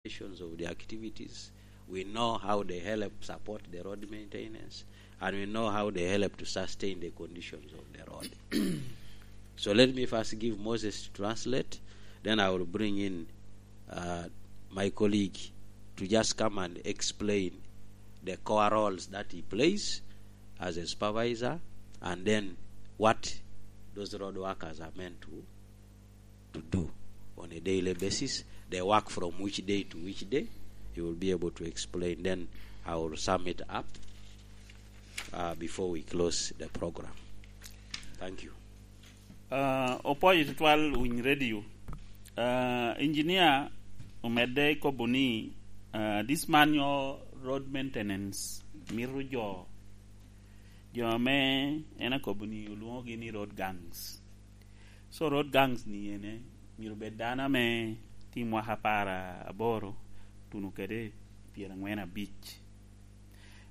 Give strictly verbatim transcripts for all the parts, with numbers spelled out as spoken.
conditions of the activities. We know how they help support the road maintenance, and we know how they help to sustain the conditions of the road. So let me first give Moses to translate, then I will bring in, uh, my colleague to just come and explain the core roles that he plays as a supervisor, and then what those road workers are meant to, to do on a daily basis. They work from which day to which day. He will be able to explain. Then I will sum it up, uh, before we close the program. Thank you. Ah, opwoyo tutwal winy radio. Ah, engineer omedde i kobo ni, ah, this manual road maintenance mito jo, jo ame en akobo ni olwoŋogi ni road gangs. So road gangs ni ene myero bed dano ame tye i mwaka apar aboro tuno kede pyerangwen abic.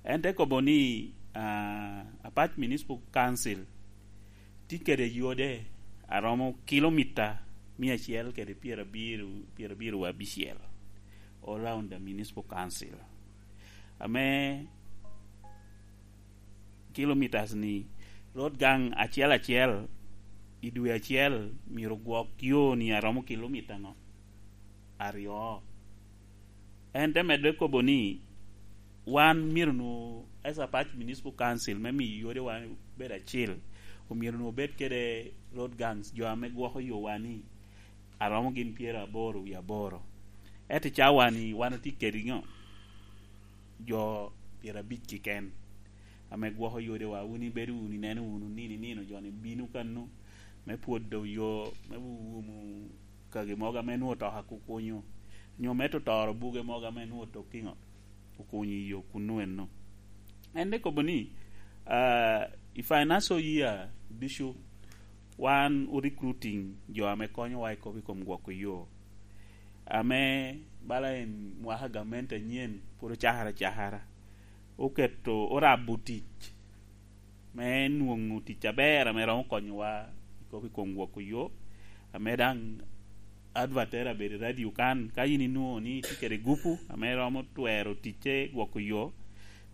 En te kobo ni, ah, Apac Municipal Council tye kede yode a romo kilomita mia acel kede pyerabiro, pyerabiro abicel all around the Municipal Council. Ame kilometres ni, road gang acel acel i dwe acel myero gwok yo ni a romo kilomita ŋo? Aryo. En te medde kobo ni, wan myero nwo, as Apac Municipal Council, me miyo yodewa bedo acil, omyero nwo bed kede road gangs, jo ame gwoko yowa ni a romo gin pyeraboro wie aboro. Ento i cawa ni wan otye kede ŋo? Jo pyerabic keken ame gwoko yodewa. Wun ibedo wunu, ineno wunu nino i nino jo-ni bino kano me pwodo yo, me wumo kagi mogo ame nwo otoka kukunyo, nyo me totoro buge mogo ame nwo otokki ŋo, okunyo i yo kunnu eno. En te kobo ni, ah, i financial year ducu, wan o recruiting jo ame konyowa i kop i kom gwoko yo. Ame bala en mwaka gamente anyen pwod ocakere acakara, oketo, orabo tic me nwoŋo tic aber ame romo konyowa i kop i kom gwoko yo, ame daŋ advertise abedo i radio kan. Ka yin inwoŋo ni itye kede gupu ame romo twero ticce gwoko yo,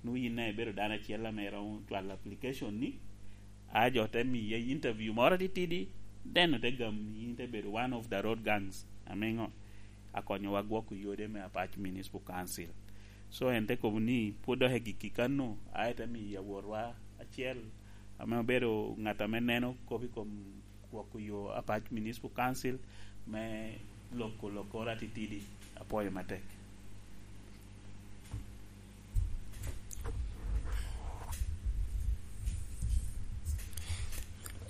nwoŋo yin daŋ ibedo dano acel ame romo cwalo application ni, a jo te miye interview moro atitidi, then ote gam yin te bedo one of the road gangs ame ŋo, akonyowa gwoko yode me Apac Municipal Council. So en te kobo ni pwod dok egikki kano, a ete miyo awotwa acel ame obedo ŋat ame neno kop i kom gwoko yo Apac Municipal Council me loko lokoro atitidi. Apwoyo matek.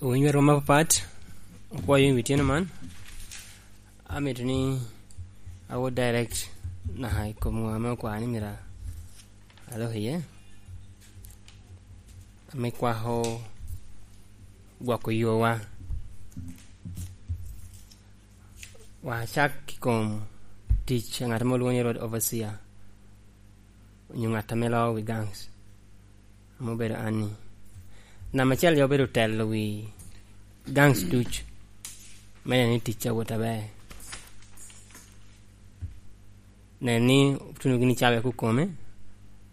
Owinyo rwom apapat, opwoyo i wi tyeno man. Amito ni awot direct naka i kom ŋo ame okwao ni myero alok iye, ame kwako gwoko yowa. Wa cak i kom tic a ŋat ame olwoŋo ni road overseer, onyo ŋat ame loo wi gangs, ame obedo an-ni. Namba acel, jo obedo telo wi gangs duc, me neno ni tic awot aber. Neno ni otuno gini cawa i kukome,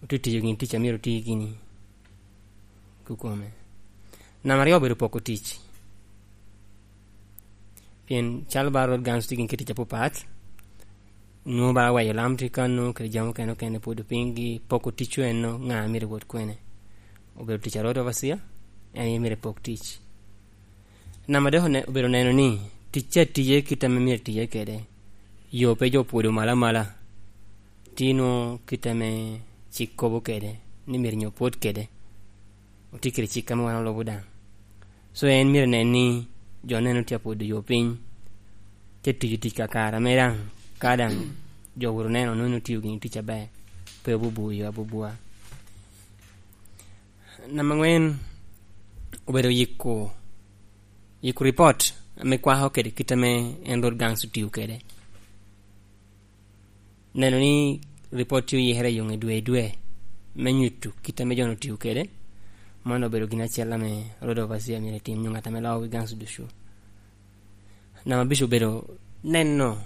otye tiyo gini tic a myero oti gini kukome. Namba aryo obedo poko tic. Pien calo ba road gangs tye gin kit tic apapat, nwoŋo ba weyo lam tye kano, kede jami okene okene pwod opiny gi poko ticwu eno, ŋa myero wot kwene. Obedo tic a road overseer, en aye myero epok tic. Namba adek one-, obedo neno ni ticce atiye kit ame myero etiye kede. Yo pe jo opwodo malo amala. Tye nwoŋo kit ame cik kobo kede, ni myero nyo opwod kede. Otye kede cik ame wan olubo daŋ. So en myero nen ni jo neno tye apwodo yo piny, te tiyo tic kakare ame daŋ, ka daŋ jo wuro neno nwoŋo en otiyo gini tic aber, pe obubu yo abubua. Namba angwen, obedo yiko, yiko ripot ame kwako kede kit ame en road gangs otiyo kede. Neno ni ripot tye oyikere i yoŋe dwe i dwe, me nyuto kit ame jo-nu otio kede. Man obedo gin acel ame road overseer myero etim, nyo ŋat ame loo wi gangs ducu. Namba abic obedo neno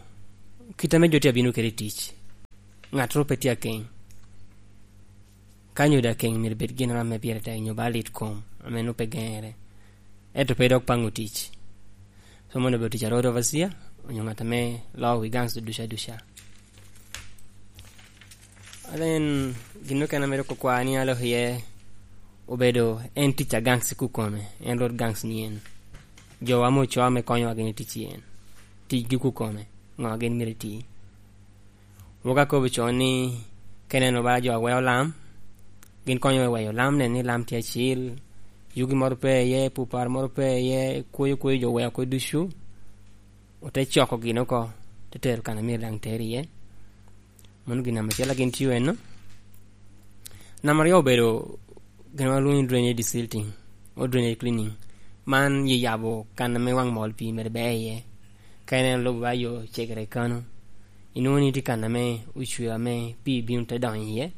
kit ame jo tye abino kede i tic. Ŋattoro pe tye akeŋ. Ka nyo daŋ keŋ myero bed gin ame pire tek nyo ba lit kom ame nwoŋo pe geŋere, ento pe dok paŋo tic. So mono obedo tic a road overseer, onyo ŋat ame loo wi gangs ducu aduca. Then, gin okene ame dok okwao ni alok iye obedo en tic a gangs i kukome, en road gangs ni en. Jowa ame ocoa ame konyowa gin i tic i en. Ticgi kukome, ŋo a gin myero iti? Wok akobo con ni, ka ineno ba jo a weo lam, gin konyo me weyo lam, neno ni lam tye acil, yugi moro pe iye, pupar moro pe iye, kwoyo kwoyo jo weo kwo ducu, ote coko gin oko, te tero kan a myero daŋ ter iye. Mano gin namba acel a gin tio enno. Namba aryo obedo gin ma lwongo ni drainage desilting, o drainage cleaning. Man ye yabo kan ame waŋ mol pii mere ber iye. Ka ineno lobo ba yo cegere kano, inwoŋo ni tye kan ame ocweo ame pii bino te donyo iye,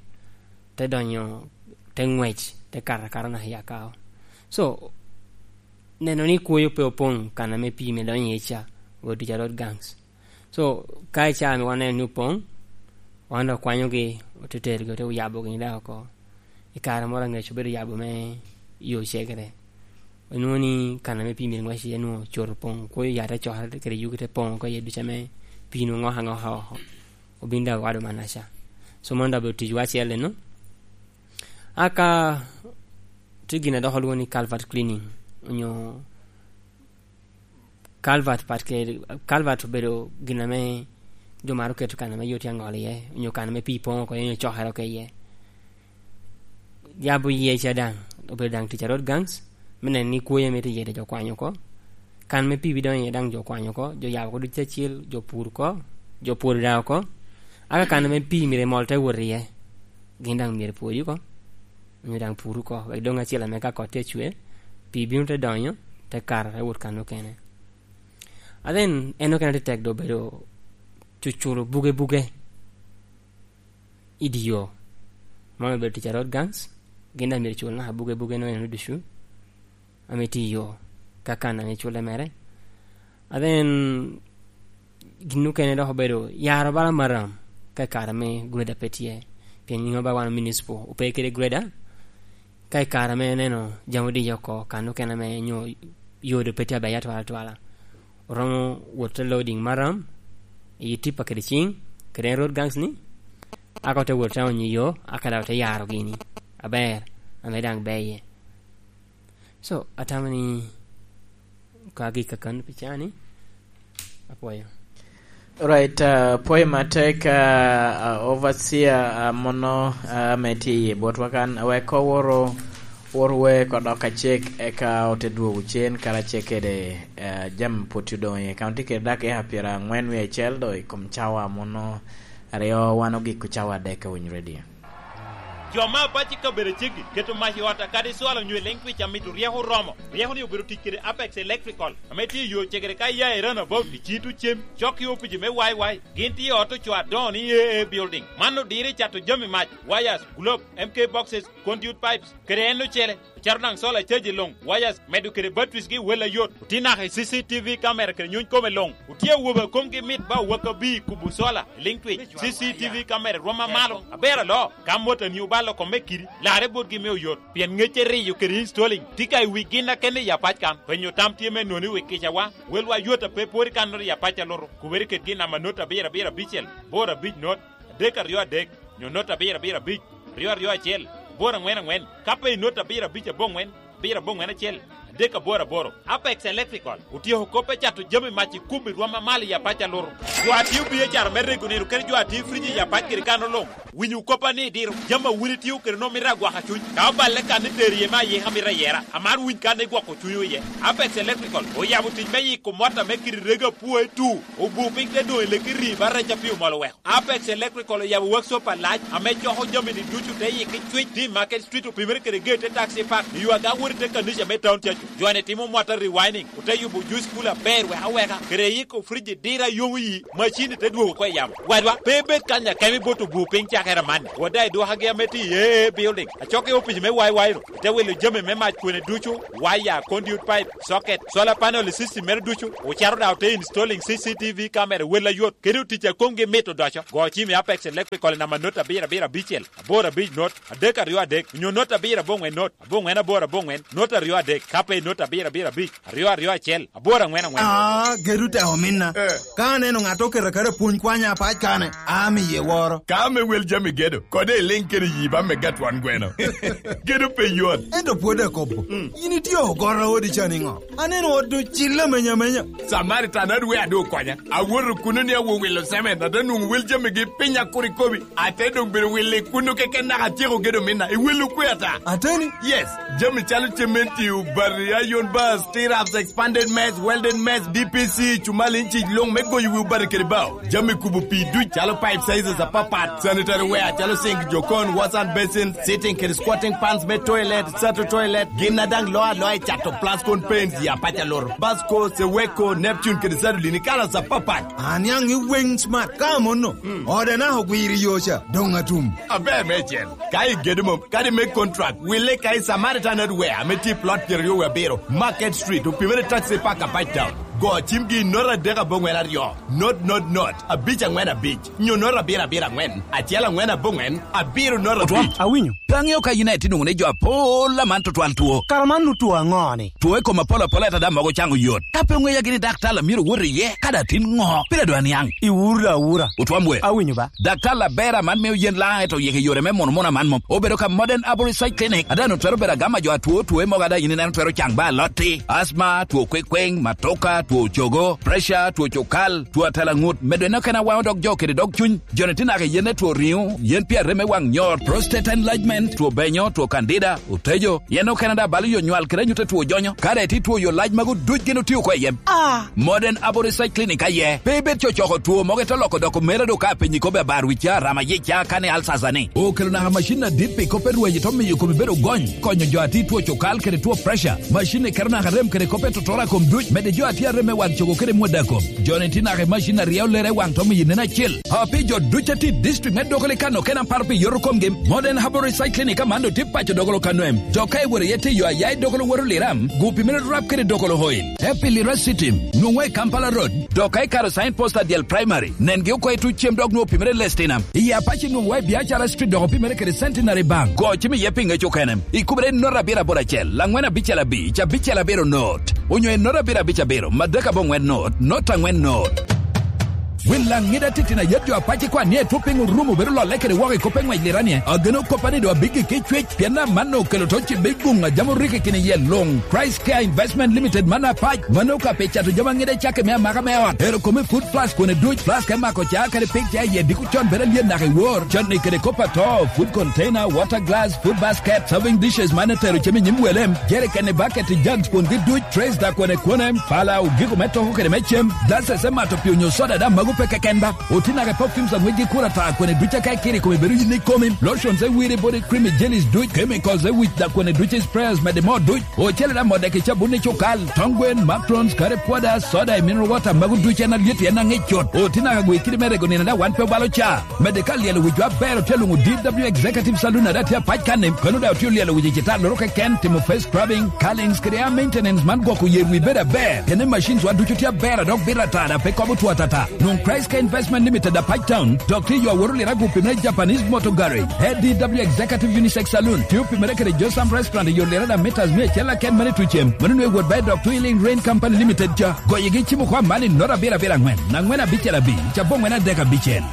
te donyo, te ŋwec, te kato akata naka i akao. So, neno ni kwoyo pe opoŋ kan ame pii mere donyo iye ca, obedo tic a road gangs. So, ka i caa ame waneno ni opoŋ, wan dok okwanyogi, ote terogi, ote oyabogi daŋ oko. I kare moro aŋec obedo yabo me yo cegere. Onwoŋo ni kan ame pii myero ŋwec iye nwoŋo cot opoŋ, kwoyo ya te cokere kede yugi te poŋ oko iye ducu ame pii nwoŋo ŋoko aŋoka oko. Obin daŋ owado manaca. So, mano daŋ obedo ticwa acel eno. Aka tye gin a dok olwoŋo ni culvert cleaning, onyo culvert pat ke, culvert obedo gin ame jo maro keto kan ame yo tye aŋol iye, onyo kan ame pii poŋ oko iye, onyo cokere oko iye. Yabo yee ca daŋ obedo daŋ tic a road gangs, me neno ni kwoyo ame tye iye daŋ jo kwanyo oko. Kan ame pii bidonyo iye daŋ jo kwanyo oko, jo yabo oko ducu acel, jo pur oko, jo pwodo daŋ oko. Aka kan ame pii myero emol te wot iye, gin daŋ myero epwodi oko, onyo daŋ pur oko, wek doŋ acel ame ka kot tye acwe, pii bino te donyo, te kato, te wot kan okene. And then, en okene te tek doŋ obedo cuculo buge buge i dye yo. Man obedo tic a road gangs, gin daŋ myero cul naka buge buge no eno ducu, ame tye i yo, ka kan ame culle mere. And then, gin okene dok obedo yaro bala maram, ka i kare me grader pe tye, pien nyingo ba wan municipal, ope kede grader, ka i kare me neno jami odiyo oko, kan okene ame nyo yo doŋ pe tye aber atwal atwala, oromo wot te loading maram, i tipa kede ciŋ, kede en road gangs ni, aka ote wot te onyo yo, aka daŋ ote yaro gini aber, ame daŋ ber iye. So, atamo ni ka gik kakan pi cani, apwoyo. Right, uh, pwoyo matek, uh, uh, overseer, uh, mono, uh, ame tye i botwa kan, wek oworo, wor wek odok acek, eka ote dwogo cen karacel kede, uh, jam pwod tye odong iye. Ka tye kede dakika pyerangwen wie acel do i kom cawa mono aryo, wan ogiko cawa adek a Winy Radio. Jo me apac i kabedo aceggi keto mac i ot akadi cwalo onyo i Lentwich amito ryeko oromo. Ryeko-ni obedo tic kede Apex Electrical, ame tye i yo cegere ka ia i Runabout i Cito Cem, cok i opici me Y Y. Gin tye i ot ocoo adoŋo ni A A Building. Man odiro i cato jami mac, wires, globe, M K boxes, conduit pipes, kede en ocele. Ocato daŋ solar caji luŋ, wires, medo kede batteries gi wel ayot. Otye naka i C C T V camera kede nyuny kome luŋ. Otye awobe a komgi mit ba owak abir i kubo solar i Lentwich. C C T V camera rwom amalo. Aber aloo, ka motani obalo kome kidi, larre botgi me oyot. Pien ŋecce riyo kede installing tye ka i wi gin akene i apac kan. Penyo tam tye me noni wi kicawa. Welwa yot a pe pwod i kannoro i apac a luto. Kubere kede gin namba not abiro abiro abicel, boro abic not, adek aryo adek, nyo not abiro abiro abic, aryo aryo acel, aboro aŋwen aŋwen, ka pe i not abiro abic aboŋwen, abiro aboŋwen acel, adek aboro aboro. Apex Electrical otyeko kop me cato jami mac i kubo i rwom amalo i apac a luto. Jo a tio biacara me rego nino kede jo a tio frij i apac kede kano luŋ, winyo koppa ni diro jami a wun itio kede nwoŋo mito agwaka cuny. Ka oballe kan itero iye me ayika mito ayera, amaro winy kan igwoko cunywu iye. Apex Electrical oyabo tic me yiko mot ame kite rego apwoe tu, obu piny te doŋ i leki rii ba rec a pii omol oweko. Apex Electrical oyabo workshop alac ame coko jami-ni ducu te yiki cwic, tye i Market Street, opimere kede gate te taxi park, i yo aga wot i te kanica me town cacu. Jo-ni timo mwatta rewinding, ote yubo juice cooler aber wek aweka, kede yiko fridge dira yomo yi, macini te dwogo oko i yamo. Wadwa, pe ibed kany akemo i bot obur piny cakere amanni. Wadda idwokagi ame tye i A A building, acok i opic me Y Y ro, ite wilo jami me mac kwene ducu, waya, conduit pipe, socket, solar panel i system mere ducu, ocaro daŋ ote installing C C T V camera wel ayot, kede otic a komgi mit odoco. Go cim i Apex Electrical i namba not abiro abiro abicel, aboro abic not, adek aryo adek, onyo not abiro aboŋwen not, aboŋwen aboro aboŋwen, not aryo adek, ka pe i not abiro abiro abic, aryo aryo acel, aboro aŋwen aŋwen. Ah, gedo tek ominna. Eh. Ka aneno ŋat oketo aketa pwony kwanya apac kane, amiye woro. Ka ame wel jami gedo, kode iliŋ kede yi ba me gatwan gweno. Gedo pe yot. Ento pwod akobo. Mm. In itye ogoro odi ca niŋo? Aneno ot doŋ cille amenya amenya. Samaritan adwe adu okonya. Awoto kuno ni awo wilo cement, ate nwoŋo wel jamigi piny akurikobi. Ate doŋ bedo wilo i kuno keken naka atyeko gedo minna. I wilo kwe ata? Ateni? Yes. Jami calo cementi, obati, iron bars, stirrups, expanded mess, welded mess, D P C, cumal inci luŋ me goyo wi obati kede bao. Jami kubo pii duc calo pipe sizes apapat, sanitary ware calo sink, jokon, wash and basin, sitting kede squatting pans me toilet, sato toilet, gin a daŋ loo aloa i cato Plascon paints, ya paca loro, Basco, Seweko, Neptune kede Sadolin i kalas apapat. Aniaŋ i weŋ smart ka amono. Mm. Ode naka ogwiro i yo ca, doŋ atum. Aber meicel. Ka igedo mom, kadi me contract, wille ka i Samaritan Hardware ame tye i plot pyeraryo wie abiro, Market Street, opimere taxi park a Page Town. Go cimgi i not adek aboŋwen aryo, not, not, not, abic aŋwen abic, nyo not abiro abiro aŋwen, acel aŋwen aboŋwen, abiro not Otwom, abic. Awinyo. Pe aŋeo ka in aye tye nwoŋo ni jo apol aman tutwal two. Kara man nu two aŋo-ni? Two i kom apol apol ata daŋ mogo caŋo yot. Ka pe oŋeya gini daktar a myero owot iye, ka daŋ tin ŋo? Pire dwa niaŋ. Iwuro da awura. Otwom we. Awinyo ba. Daktar aber aman mio yen laŋ eto yeke yore me mono mono aman mom. Obedo ka Modern Arborist Side Clinic. Ada no twero bedo agama jo atwo two mogo ada in ineno twero caŋ ba alotti. Asma, two kwekweng, matoka, two cogo, pressure, two cokal, two atela ŋut. Medo en okene awaŋo dog jo kede dog cuny. Joni tye naka i yen me two riŋo, yen pi arem me waŋ nyor, prostate enlargement, two benyo, two candida, otejo, yen okene daŋ balo yo nywal kede anyut a two jonyo. Ka daŋ itye two yo lac magu duc gin otio oko i yem. Ah! Modern Aboriginal Clinic aye. Pe ibed cocoko two mogo ite loko doko mera do ka penyi kobe abar wicca, rama yica, kane alsasa ni. Okelo naka macin adit pi kop erwaji to miyo komi bedo gony, konyo jo ati two cokal kede two pressure. Macin ni keto naka rem kede kop etotoro a kom duc, mede jo ati arem me wang cogo kede mwada kom. Joni tye naka i macin a ryeo lere i waŋ to miyo nen acel. A pi jo duc a tye i district me Dogoli kan okene aparo pi yoto komgi, Modern Herbal Research Clinic aman do tye paco Dogolo Kanwem. Dok ka iworo iye tye yo aya i Dogolo Woro Liram, gupi mere rap kede Dogolo Oil. Te pi Lira City, nwoŋwa i Kampala Road. Dok ka ikaro sign post a dyel primary, nengi oko i tuc cem dok nwoŋo opimere Lestina. I Apache nwoŋwa i Biacara Street dok opimere kede Centenary Bank. Go cim iye pi ŋec okene. Ikubere i nota abiro aboro acel, laŋwen abicel abic, abicel abiro not. Onyo i nota abiro abic abiro, madek aboŋwen not, not aŋwen not. Wil laŋ ŋida titino ayet jo apac ikwan ni etwo piny orumo bedo lolle kede woko i kop eŋwec lira nie. Ageno koppa ni do abiggi ki cwec, pien amanno okelo to cibbe guŋ a jam orikki kini yie luŋ. Christ Care Investment Limited man apac, mano ka pi cato jami aŋida cake me amaka me ot. Ero kome food flask kone duc, flask e mako ca kede pig ca iye diko con bedo alyet naka i wor. Conni kede kop ato, food container, water glass, food basket, serving dishes man etero cem i nyim wele, jerikeni, baketi, jugs kwongi duc, trays da kwone kwone, pala, ogiko me toko kede me cem, glasses e mato pi onyo soda da mago pe keken ba. Oti naka i perfumes a ŋwecgi kura ta kwene duc aka ikiri kome bedo yin ikomi, lotions e wiri body cream i jellies duc, chemicals e wic da kwene duc i sprayers mede mo duc. Ocele da modde ki cabun i cukal, tong gwen, macrons, kare pwoda, soda i mineral water mago duc en alyet en aŋic cut. Oti naka gwe kidi me rego nino da wan pe obalo ca. Mede ka lyelo wic jo aber otye luŋo D W Executive Saloon ada tye apac kan-ni, kono da otye olyelo wic i cita loro keken, timo face scrubbing, curlings, kede hair maintenance man gwoko yer wi bedo aber. Kene machines wa ducu tye aber a dok bito atara pe kobo two atata. Nwoŋ Christ Care Investment Limited apac town, dok tye yo aworo lira gupi me Japanese Motor Garage, A D W Executive Unisex Saloon, tye opimere kede Josam Restaurant i yo lira da meters mia acel aken mane tucem. Mano nwe wot ba i dok Twilling Rain Company Limited ca. Goyegi cimo kwa man i nota abiro abiro aŋwen, aŋwen abicel abic, aboŋwen adek abicel.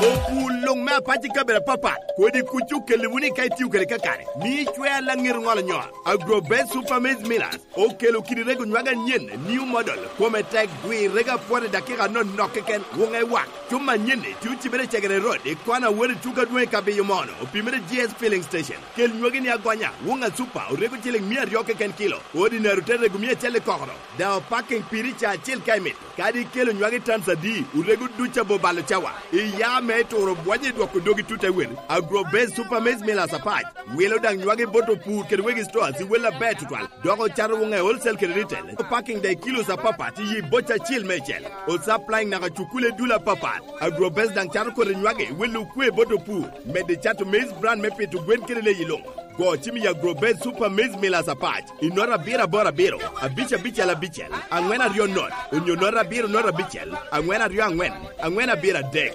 Opur luŋ me apac i kabedo apapat, kodi kuc okelli wunu i ka itio kede kakare, mi icwer laŋet ŋolo nyol. Agro Best Super Maize Millers okelo kidi rego nywag anyen, new model, kome tek, dwi rego apwot i dakika anonok keken, wuŋe wak. Cuma anyen-ni tye ocibere i Cegere Road, i kona wot i Tuka Dwoŋ i Kabiyo Mono, opimere G S Filling Station. Kel nywagi ni agonya, wuŋ a Super, orego ciliŋ mia aryo keken kilo, ordinary te rego mia acel i kokoro. Daŋ opaking piri ca acel ka imito. Kadi ikelo nywagi tons adi, orego duc abo balo cawa. Iya me turo bwonyo i Oko dogi tute wel, Agro Base Super Maize Millers apac. Wilo daŋ nywage bot opur kede wegi stores i wel aber tutwal. Dok ocato woŋe wholesale kede retail. Packing daŋ i kilos apapat i boca acel meicel. O supplying naka cukule dul apapat. Agro Base daŋ cato kodi nywage wel okwe bot opur. Medde cato maize bran me pito gwen kede leyi luŋ. Go cim i Agro Base Super Maize Millers apac. I nota abiro aboro abiro, abic abicel abicel, aŋwen aryo not, onyo nota abiro not abicel, aŋwen aryo aŋwen, aŋwen abiro adek.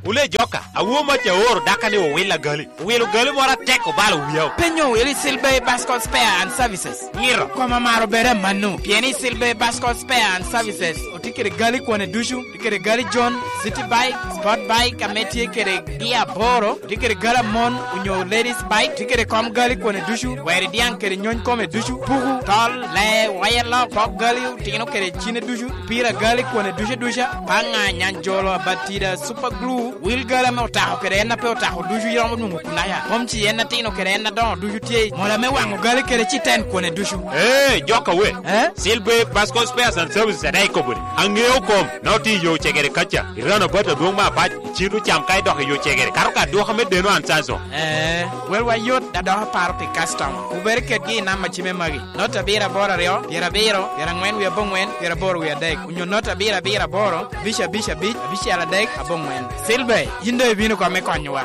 Wule joka, awo mac aoro daka ni owil agali. Owilo gali moro atek obalo wiya. Penyo wili Silver Bascot Spare and Services. Ngiro. Koma maro bere manu. Pien i Silver Bascot Spare and Services, otye kede gali kwane ducu, tye kede gali John, City Bike, Sport Bike, ame tye kede gi aboro, tye kede gali amon, onyo ladies bike, tye kede kom gali kwane ducu, weri diaŋ kede nyony kome ducu, puku, tol, lee, waya lok, pok gali, otino kede cine ducu, pira gali kwane ducu duca, paŋa, nyanjolo, abatida, super glue, wil gali ame otako kede en a pe otako ducu iromo nwoŋo kunaya. Mom ci en atino kede en adoŋo ducu tye, mola me waŋo gali kede ci ten kwane ducu. Ee, joka we. Eh? Silver Bascot Spares and Services adaŋ ikobo ni, aŋeo kom, na otye i yo cegere kaca, i rano bat adwoŋ me apac, icito cam ka idok i yo cegere, kato ka dwoka me deno an canso. Eh, welwa yot, da dok aparo pi customer. Wubed kedgi i namba cime magi. Not abiro aboro aryo, pyerabiro, pyeraŋwen wie aboŋwen, pyeraboro wie adek. Onyo not abiro abiro aboro, abic abic abic, abicel adek, aboŋwen. Silver, yin doŋ ibino kome konyowa.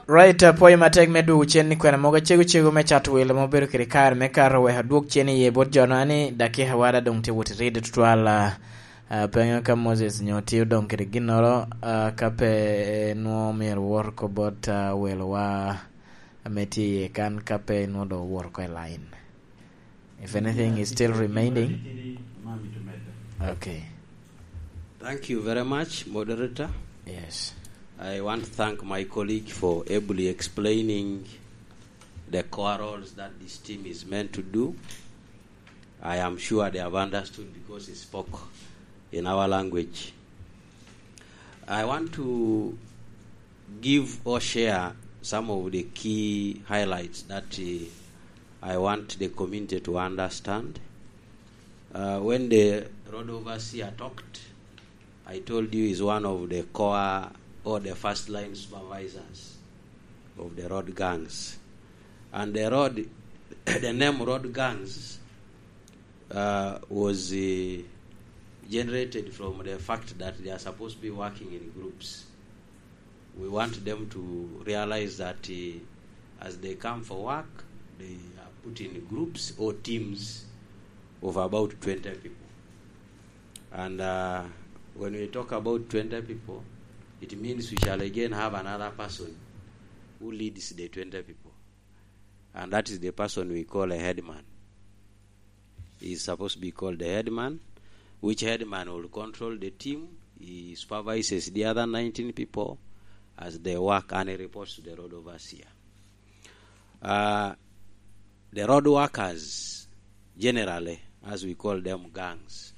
Right, apwoyo matek me dwogo cen ni kwena mogo acego cego me cato welo ma obedo kede kare me kato wek adwog cen iye bot jo-nu, ani dakika wada doŋ tye wot i ride tutwal, ah, ah, pe aŋeo ka Moses nyo tye odoŋ kede ginnoro, ah, ka pe nwoŋo myero wot oko bot, ah, welowa ame tye iye kan, ka pe nwoŋo doŋ owoto oko i line. If anything is still remaining. Okay. Thank you very much, moderator. Yes. I want to thank my colleague for ably explaining the core roles that this team is meant to do. I am sure they have understood because he spoke in our language. I want to give or share some of the key highlights that, uh, I want the community to understand. Uh, when the road overseer talked, I told you he's one of the core or the first line supervisors of the road gangs. And the road, the name road gangs, uh, was, uh, generated from the fact that they are supposed to be working in groups. We want them to realize that, uh, as they come for work, they are put in groups or teams of about twenty people. And, uh, when we talk about twenty people, it means we shall again have another person who leads the twenty people. And that is the person we call a headman. He is supposed to be called the headman, which headman will control the team. He supervises the other nineteen people as they work, and he reports to the road overseer. Uh, the road workers, generally, as we call them, gangs,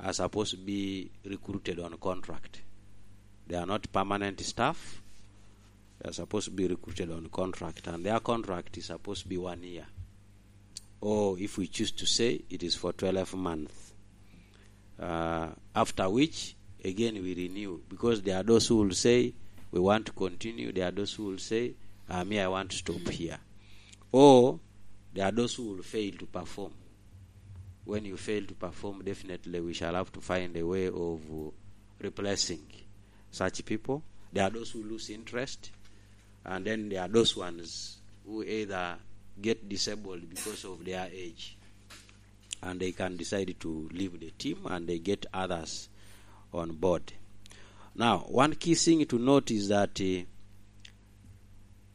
are supposed to be recruited on contract. They are not permanent staff. They are supposed to be recruited on contract, and their contract is supposed to be one year. Or if we choose to say, it is for twelve months. Uh, after which, again, we renew, because there are those who will say, "We want to continue." There are those who will say, "Ah, me, I want to stop here." Or there are those who will fail to perform. When you fail to perform, definitely we shall have to find a way of, uh, replacing such people. There are those who lose interest, and then there are those ones who either get disabled because of their age, and they can decide to leave the team, and they get others on board. Now, one key thing to note is that, uh,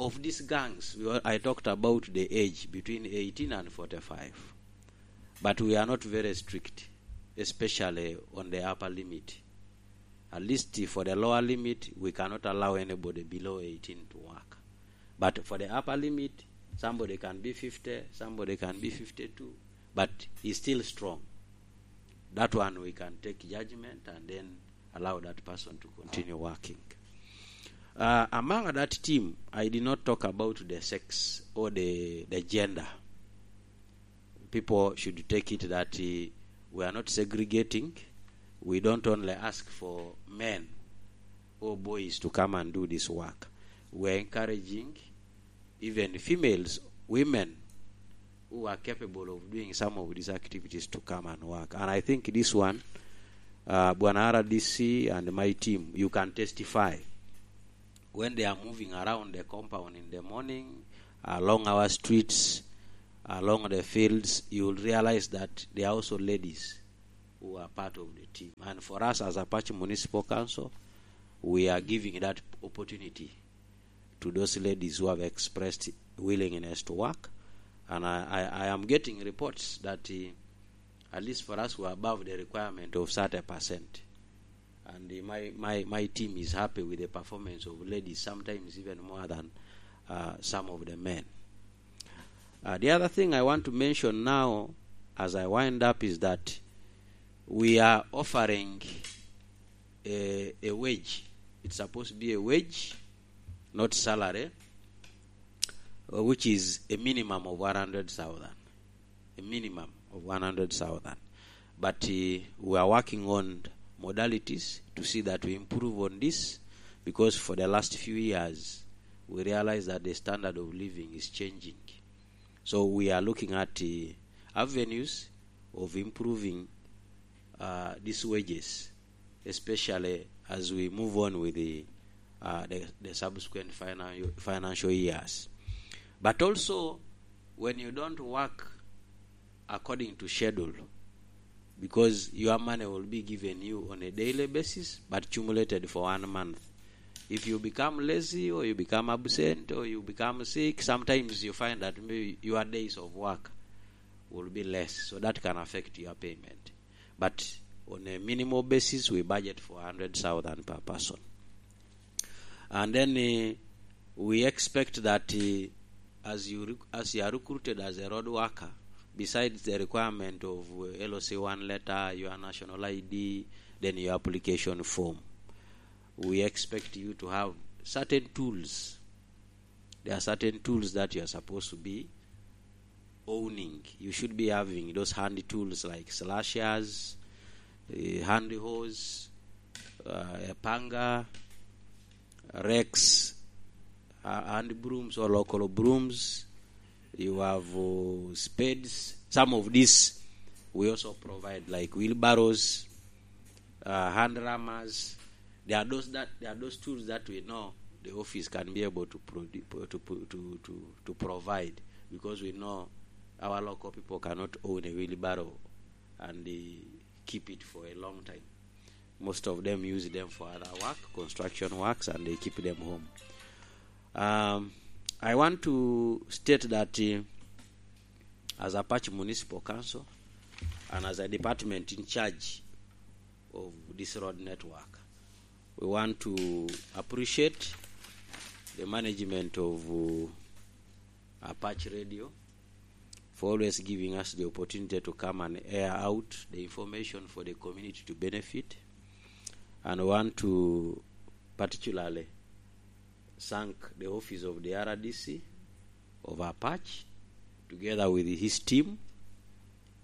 of these gangs, we, I talked about the age between eighteen and forty-five, but we are not very strict, especially on the upper limit. At least for the lower limit, we cannot allow anybody below eighteen to work. But for the upper limit, somebody can be fifty, somebody can be fifty-two, but he's still strong. That one we can take judgment and then allow that person to continue working. Uh, among that team, I did not talk about the sex or the, the gender. People should take it that, uh, we are not segregating. We don't only ask for men or boys to come and do this work. We are encouraging even females, women who are capable of doing some of these activities to come and work. And I think this one, uh, Bwana R D C and my team, you can testify. When they are moving around the compound in the morning, along our streets, along the fields, you will realize that there are also ladies who are part of the team. And for us as Apache Municipal Council, we are giving that opportunity to those ladies who have expressed willingness to work. And I, I, I am getting reports that, uh, at least for us, we are above the requirement of thirty percent. And, uh, my, my, my team is happy with the performance of ladies, sometimes even more than, uh, some of the men. Uh, the other thing I want to mention now, as I wind up, is that we are offering a, a wage. It's supposed to be a wage, not salary, uh, which is a minimum of one hundred thousand. A minimum of one hundred thousand. But, uh, we are working on modalities to see that we improve on this, because for the last few years, we realize that the standard of living is changing. So we are looking at, uh, avenues of improving, uh, these wages, especially as we move on with the, uh, the, the subsequent finan-, financial years. But also, when you don't work according to schedule, because your money will be given you on a daily basis, but cumulated for one month. If you become lazy or you become absent or you become sick, sometimes you find that maybe your days of work will be less, so that can affect your payment. But on a minimal basis, we budget for hundred thousand per person. And then, uh, we expect that, uh, as you rec-, as you are recruited as a road worker, besides the requirement of, uh, L C one letter, your national I D, then your application form, we expect you to have certain tools. There are certain tools that you are supposed to be owning. You should be having those handy tools like slashers, uh, handy hose, uh, a panga, rakes, uh, hand brooms or local brooms. You have, uh, spades. Some of these we also provide, like wheelbarrows, uh, hand rammers. There are those that, there are those tools that we know the office can be able to produ-, to, to, to, to provide, because we know our local people cannot own a wheelbarrow and, uh, keep it for a long time. Most of them use them for other work, construction works, and they keep them home. Um, I want to state that, uh, as Apache Municipal Council and as a department in charge of this road network, we want to appreciate the management of, uh, Apache Radio for always giving us the opportunity to come and air out the information for the community to benefit. And we want to particularly thank the office of the R D C of Apache, together with his team,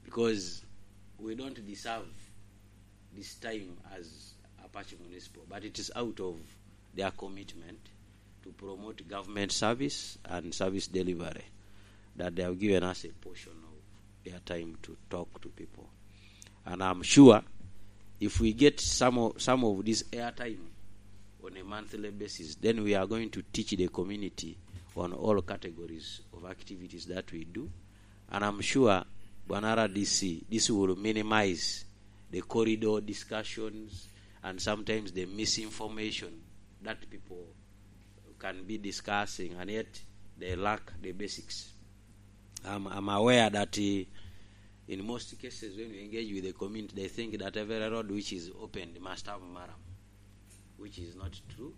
because we don't deserve this time as Apache Municipal, but it is out of their commitment to promote government service and service delivery that they have given us a portion of their time to talk to people. And I'm sure if we get some of, some of this airtime on a monthly basis, then we are going to teach the community on all categories of activities that we do. And I'm sure, Bwana R D C, this will minimize the corridor discussions and sometimes the misinformation that people can be discussing, and yet they lack the basics. I'm, I'm aware that, uh, in most cases, when we engage with the community, they think that every road which is opened must have maram, which is not true.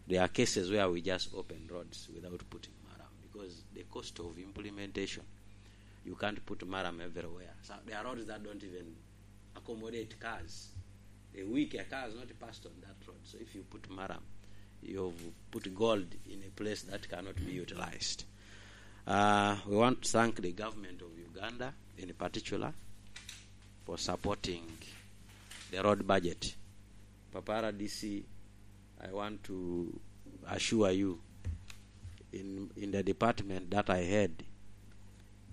There are cases where we just open roads without putting maram because the cost of implementation, you can't put maram everywhere. So there are roads that don't even accommodate cars. A week, a car has not passed on that road. So if you put maram, you've put gold in a place that cannot be utilized. Uh, we want to thank the government of Uganda in particular for supporting the road budget. Papara D C, I want to assure you, in, in the department that I head,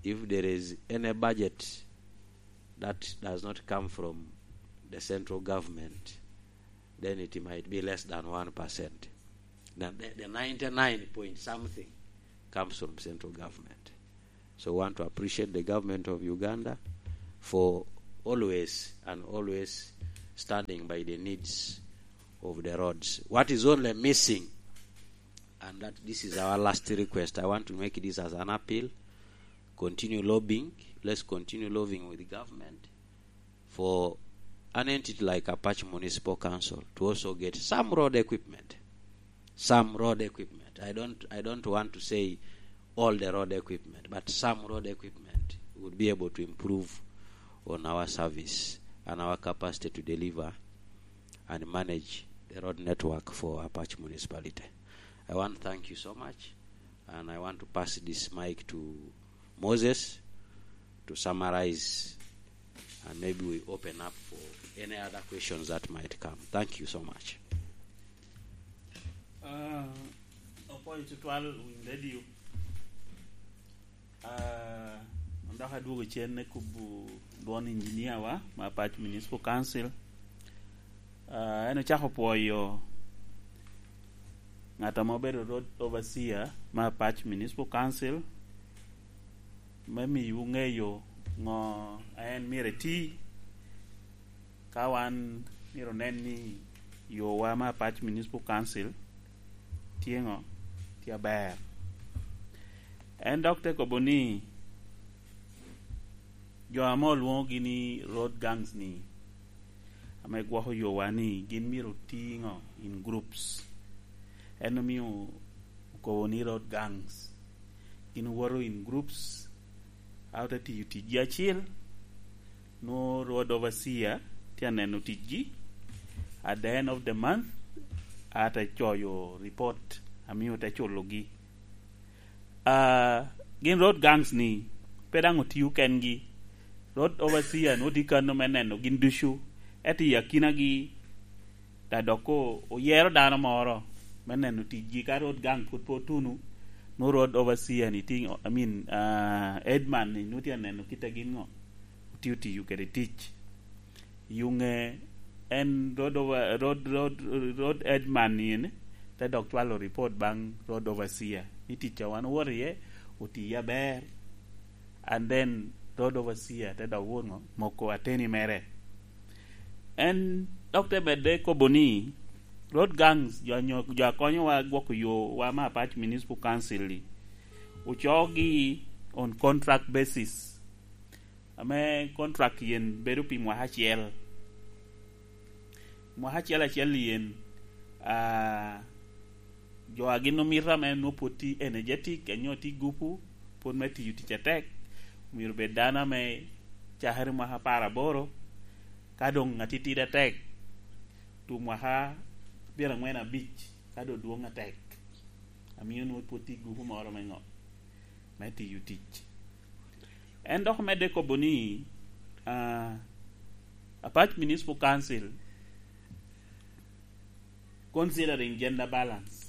if there is any budget that does not come from the central government, then it might be less than one percent. Then the, the ninety-nine point something comes from central government. So I want to appreciate the government of Uganda for always and always standing by the needs of the roads. What is only missing, and that this is our last request, I want to make this as an appeal. Continue lobbying. Let's continue lobbying with the government for an entity like Apache Municipal Council to also get some road equipment. Some road equipment. I don't, I don't want to say all the road equipment, but some road equipment would be able to improve on our service and our capacity to deliver and manage the road network for Apache Municipality. I want to thank you so much, and I want to pass this mic to Moses to summarize, and maybe we open up for any other questions that might come. Thank you so much. Ah, opwoyo tutwal winy radio. Ah, dok adwogo cen ne kubu dwon engineer wa ma Apac Municipal Council. Ah, en ocako pwoyo ŋat ame obedo road overseer ma Apac Municipal Council me miyowu ŋeyo ŋo a en myero eti, ka wan myero onen ni yowa me Apac Municipal Council tye ŋo, tye aber. En dok te kobo ni jo ame olwoŋogi ni road gangs ni, ame gwoko yowa ni gin myero oti ŋo, in groups. En omio okobo ni road gangs. Gin owoto in groups, a ote tiyo ticgi acil, nwo road overseer tye aneno ticgi. At the end of the month, a te coyo report, amio te culogi. Ah, gin road gangs ni, pe daŋ otio kengi. Road overseer nwo tye kano me neno gin ducu. Ento i akinagi, da dok o-, oyero dano moro me neno ticgi. Ka road gang pwod pe otuno, nwo road overseer ni tye, I mean, ah, headman ni nwo tye aneno kit a gin ŋo otio tiyo kede tic. Yuŋe en road over, road, road, road headman ni ene, te dok cwalo report baŋ road overseer ni tic a wan owoto iye, oti aber. And then road overseer te dok wot ŋo, moko ateni mere. En dok te medde kobo ni, road gangs, jo anyo-, jo a konyowa gwoko yowa me Apac Municipal Council-li, ocoogi on contract basis, ame contract yen bedo pi mwaka acel. Mwaka acel acel yen, ah, jo a gin omito ame nwo pwod tye energetic, anyo tye gupu, pwod me tiyo tic atek, myero bed dano ame cakere mwaka apar aboro, ka doŋ atitidi atek, tu mwaka pyeraŋwen abic, ka doŋ dwoŋ atek, amio nwo pwod tye gupu moro me ŋo, me tiyo tic. En dok omedde kobo ni, ah, Apac Municipal Council, considering gender balance,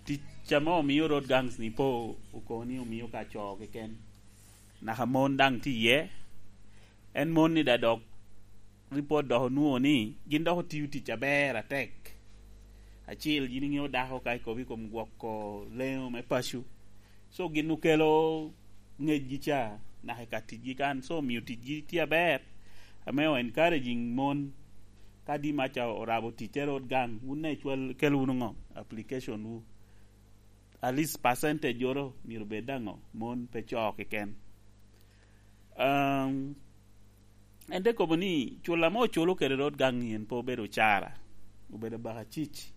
tic ame omio road gangs ni po okobo ni omio ka co keken. Naka mon daŋ tye iye. En mon ni da dok report dok onwoŋo ni gin dok otio tic aber atek. Acil, yin iŋeo dako ka ikobo i kom gwoko leŋo me paco. So gin okelo ngecgi ca naka i ka ticgi kan. So omio ticgi tye aber. Ame o encouraging mon, ka di maca orabo ticce road gang, wun daŋ icwal, kel wunu ŋo? Application wu. At least percentage oro myero bed daŋ ŋo? Mon, pe co keken. Um, en te kobo ni cul ame oculo kede road gang en pe obedo cara, obedo baka cic,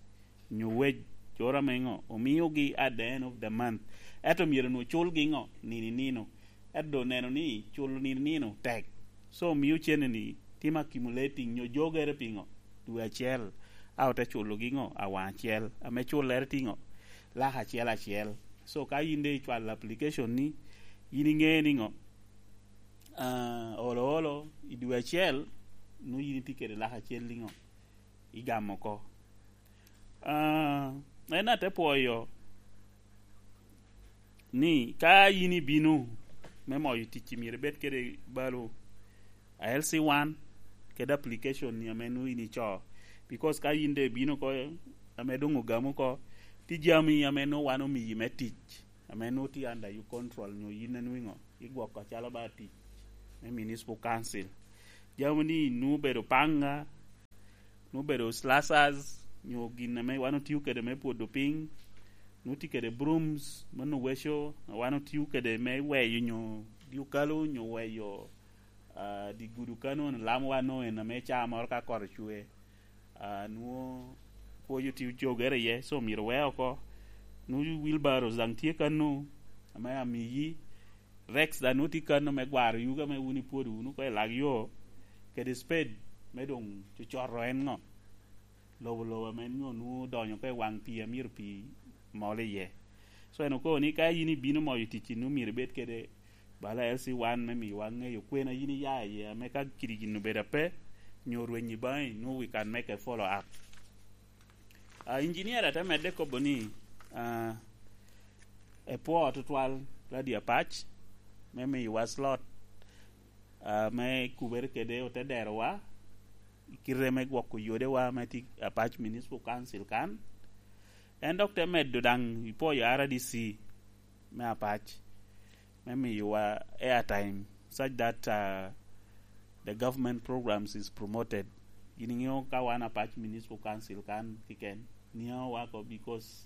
nyo wage oro ame ŋo, omiogi at the end of the month. Ento myero onwo culgi ŋo? Nino i nino. Ento doŋ oneno ni culo nino i nino tek. So omio cene ni timo accumulating nyo jogere pi ŋo? Dwe acel. A ote culogi ŋo? Awaŋ acel. Ame cullere tye ŋo? Lak acel acel. So ka yin de icwalo application ni, yin iŋeo ni ŋo? Ah, olo olo, i dwe acel, nwoŋo yin itye kede lak acel liŋo, igamo oko. Ah, en ate pwoyo ni ka yin ibino me moyo tic, myero ibed kede balo a L C one kede application ni ame nwoŋo yin icoo, because ka yin doŋ ibino oko ame doŋ ogamo oko, tye jami ame nwoŋo wan omiyi me tic ame nwoŋo tye under your control, nyo yin anwoŋo igwoko acalo ba tic me municipal council. Jami ni nwoŋo obedo panga, nwoŋo obedo slashers, nyo gin ame wan otio kede me pwodo piny, nwoŋo tye kede brooms, mano weco, wan otio kede me weyo nyo dyokalo, nyo weyo, ah, di gudu kano, lamo wan nwoŋo en ame caa moro ka kot ocwe, ah, nwoŋo pwoc otio cogere iye, so myero we oko. Nwoŋo wheelbarrows daŋ tye kano, ame amiyi, Rex daŋ nwoŋo tye kano me gwaro yugi ame wun ipwodo wunu oko i lak yo, kede spade me doŋ cocoto en ŋo, lobo lobo ame nyo nwoŋo odonyo oko i waŋ pii a myero pii mol iye. So en okobo ni ka yin ibino moyo ticci, nwoŋo myero ibed kede bala L C one me miyowa ŋeyo kwena yin iya iye, ame ka kidi gin obedo ape, nyo rwenyi baŋi, nwoŋo we can make a follow up. Ah, engineer ate medde kobo ni, ah, epwoo tutwal Radio Apac me miyowa slot, ah, me kubere kede ote derowa, i kite me gwoko yodewa me tye Apac Municipal Council kan. En dok te medo daŋ i pwoyo R D C me Apac me miyowa airtime, such that, uh, the government programs is promoted. Gin iŋeo ka wan Apac Municipal Council kan kiken, niaŋo wako, because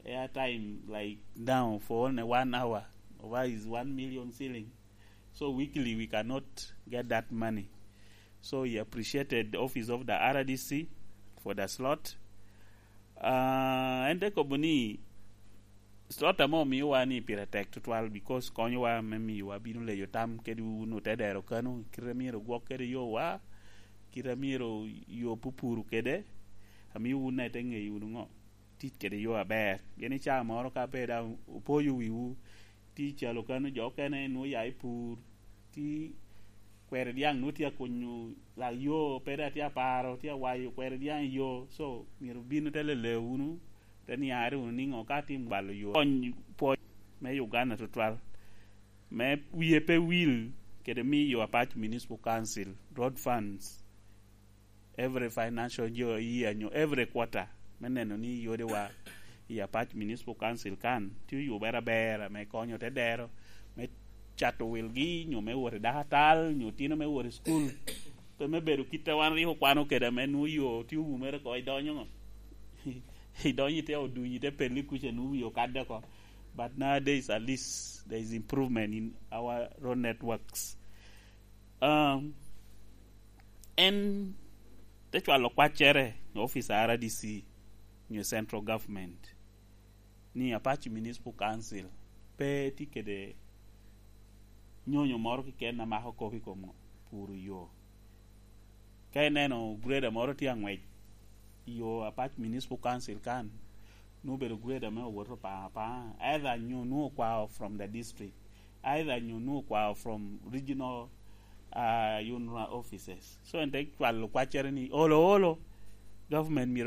airtime, like, now for only one hour, over is one million shilling. So weekly we cannot get that money. So he appreciated the office of the R D C for the slot. Uh, en te kobo ni, slot ame omiowa ni pire tek tutwal, because konyowa me miyowa bino leyo tam kede wun ote dero kano, kite myero gwok kede yowa, kite myero yo pupuru kede, amio wun ite ŋeyo wunu ŋo tic kede yo aber. Pien i caa moro ka pe daŋ opoyo wiwu, tye i calo kano jo okene nwoŋo ya i pur, tye kweri dyaŋ nwoŋo tye akunyo lak yo, pe daŋ tye aparo, tye awayo kweri dyaŋ i yo. So myero bin ote lele wunu, te niare wunu niŋo ka atim gwalo yo. Kony pwoc me Uganda tutwal, me wie pe wil kede miyo Apac Municipal Council road funds every financial year, year nyo every quarter, me neno ni yodewa i Apac Municipal Council kan tye oyubere aber, me konyo te dero, me cato wilgi, nyo me wot i dakatal, nyo tino me wot i school. Pe me bedo kit a wan rik okwano kede, ame nwoŋo yo tye owumere oko, idonyo ŋo? Idonyo ite oduny, ite pelli kuca, nwoŋo wi okadde oko. But nowadays, at least, there is improvement in our road networks. Um, en te cwalo kwaccere i office a R D C nyo central government ni Apache Municipal Council pe tye kede nyonyo moro keken a mako kop i kom puro yo. Ka ineno grader moro tye aŋwec i yo Apache Municipal Council kan, nwoŋo obedo grader me owoto pa, pa, either nyo nwoŋo okwao from the district, either nyo nwoŋo okwao from regional, uh, UNRA offices. So en te cwalo kwaccere ni, olo, olo, government myero